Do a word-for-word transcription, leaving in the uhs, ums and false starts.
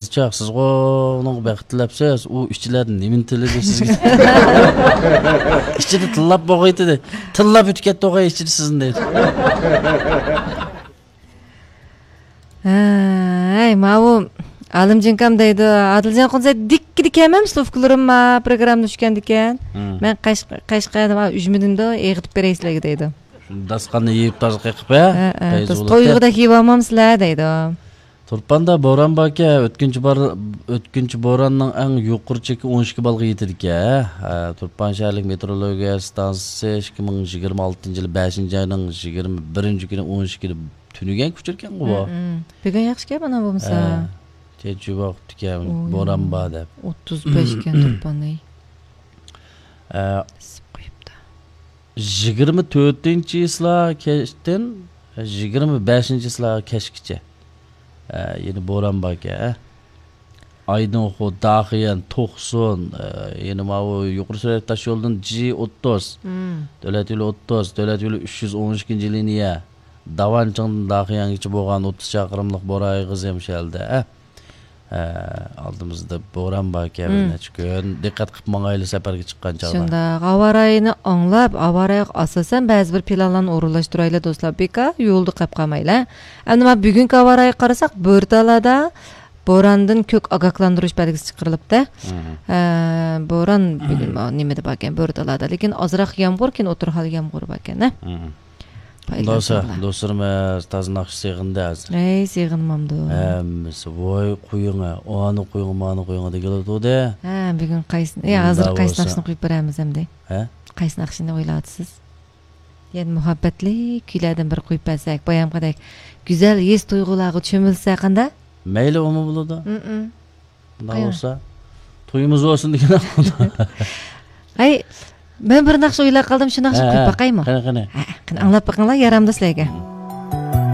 چاق، سىزغۇ ئۇنىڭغا بەخت تىلەپسىز، ئۇ ئىچىلەردىن نېمىنى تىلىدى سىزگە؟ ئىچىدە تىللاپ بولغايتى، تىللاپ ئۆتۈپ كەتتى ئوغاي ئىچىدە سىزنى دەيدۇ. ھەي، ماۋۇ ئالىمجانكام دەيدۇ، ئادىلجان قۇنسەي دىككىدە كەمەمسىز ئۇكىلىرىم ما پروگرامما چۈشكەندىكەن. مەن قەشقەردە ئۈجمىدىندۇ ئېغىتىپ بېرەي سىلەرگە دەيدۇ. داسقاننى يېيىپ تازا قېقىپ، ھە؟ تويغۇدەك يېيىۋالمامسىلەر دەيدۇ. تۇرپاندا بوران باركە، ئۆتكۈنچى بار-، ئۆتكۈنچى بوراننىڭ ئەڭ يۇقىرى چېكى ئون ئىككى بالغا يېتىدىكەن. ھە، تۇرپان شەھەرلىك مېتېئورولوگىيە ئىستانسىسى ئىككى مىڭ يىگىرمە ئالتىنچى يىلى بەشىنچى ئاينىڭ يىگىرمە بىرىنچى كۈنى ئون ئىككىدە تۈنۈگۈنكى ئۇچۇركەنغۇ بۇ. ھە، ھە. بۈگۈن ياخشىكەن مانا بولمىسا. ھە، چېچىۋاقىپتىكەن، ئۇ بوران يا. بار دەپ. ئوتتۇز بەشكەن تۇرپان، ئەي. ھە. ئىسسىپ قويۇپتۇ. يىگىرمە تۆتىنچى چىسلا كەچتىن يىگىرمە بەشىنچى چىسلا كەچكىچە، ئە، يەنە بوران باركەن، ئە. ئايدىنخو، داخىيان، توقسۇن، ئە، يەنە ماۋۇ يۇقىرى سۈرئەت تاش يولىدىن جى ئوتتۇز، مم. دۆلەت يولى ئوتتۇز، دۆلەت يولى ئۈچ يۈز ئون ئىككىنچى لىنىيە، داۋانچىڭدىن داخىيانغىچە بولغان ئوتتۇز چاقىرىملىق بوران ئېغىزى ھەم شۇ يەردە، ئە. ھە، ئالدىمىزدا بوران باركەن، بىر مم. نەچچە كۈن. دىققەت قىلىپ ماڭايلى سەپەرگە چىققان چاغدا. شۇنداق. ھاۋا رايىنى ئاڭلاپ، ھاۋا رايىغا ئاساسەن بەزى بىر پىلانلارنى ئورۇنلاشتۇرايلى دوستلار. بىكار يولدا قېلىپ قالمايلى. ئەمدى مانا بۈگۈنكى ھاۋا رايىغا قارىساق، بۆرتالادا بوراندىن كۆك ئاگاھلاندۇرۇش بەلگىسى چىقىرىلىپتۇ. مم. ھە، بوران بۈگۈن ما-، نېمىدە باركەن، بۆرتالادا. لېكىن ئازراق يامغۇر، كېيىن ئوتتۇرا ھال يامغۇرى باركەن، ھە؟ مم. دوسا، دوسلىرىم تازا ناخشا سېغىندى ھازىر. ئەي، سېغىنمامدۇ؟ ھەممىسى، ۋاي قويۇڭە، ئانى قويۇڭە، مانى قويۇڭە دېگىلى تۇردى. ھە، بۈگۈن قايسى، يا، ھازىر قايسى ناخشىنى قويۇپ بېرەمىز ئەمدى؟ ھە؟ قايسى ناخشىنى ئويلاۋاتىسىز؟ يەنە مۇھەببەتلىك كۈيلەردىن بىر قويۇپ بەرسەك، بايامقىدەك گۈزەل ھېس تۇيغۇلارغا چۆمۈلسە قانداق؟ مەيلى، ئۇمۇ بولىدۇ. مم. شۇنداق بولسا، تويىمىز بولسۇن دېگەن. ھەي، مەن بىر ناخشا ئويلاپ قالدىم، شۇ ناخشىنى قويۇپ باقايمۇ؟ قېنى، قېنى. ھە، قېنى، ئاڭلاپ بېقىڭلار، يارامدۇ سىلەرگە؟